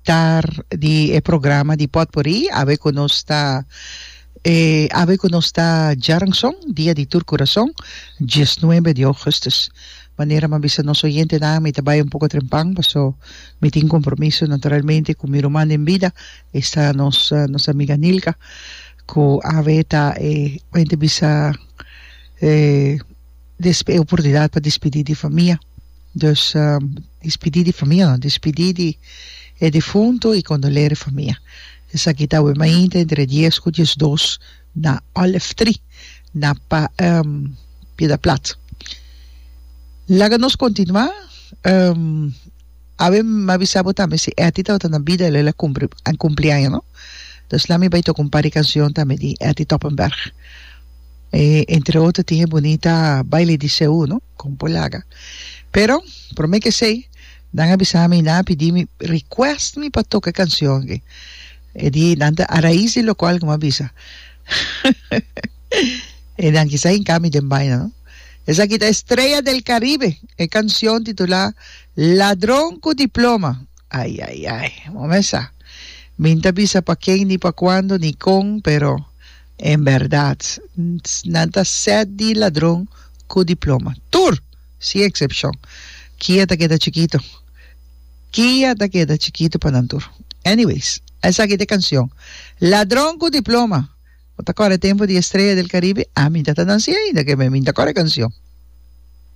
mitar di e programa di Potpourri, awe ku nos ta e awe ku nos ta djaranson, dia di tur kurason, diesnuebe di ougùstùs. Manera mi a bisa nos oyentenan, mi ta bai un poko trempan paso mi tin kompromiso naturalmente ku mi ruman den bida, esta nos nos amiga Nilka, ku awe ta e mente bisa e e oportunidat pa dispidí di famia. Dus dispidí di famia no, dispidí di e difunto i kondoler e famia. Esaki ta awe mainta entre dies ku diesdos na Olive Tree na pa Piedra Plat. Laga nos kontinuá. Awe mi a bisa bo tambe si Etty tabata na bida el a kumpli a kumpli aña no. Dus la mi bai toka un par di kanshon tambe di Etty Toppenberg. E entre otro tin e bunita Baile di Seú no, kon por laga. Pero prome ke esei nan a bisa mi nan a pidi mi request mi pa toka e kanshon aki. E di nan ta a rais di lokual ku mi a bisa. E nan kisa hinka mi den baina no. Esaki ta Estrella del Caribe, e kanshon titulá Ladron ku diploma. Ai ai ai, bo mes sa. Mi n'ta bisa pa ken ni pa kuando ni kon, pero en bèrdat nan ta sèt di ladron ku diploma. Tur! Sin eksepshon. Kia ta keda chikito. Kia ta keda chikito pa nan tur. Anyways, esaki ta e kanshon. Ladron ku diploma. Bo ta kòrda e tempu di Estrella del Caribe? Ami ta ta nansi ainda ke mi ta kòrda e kanshon.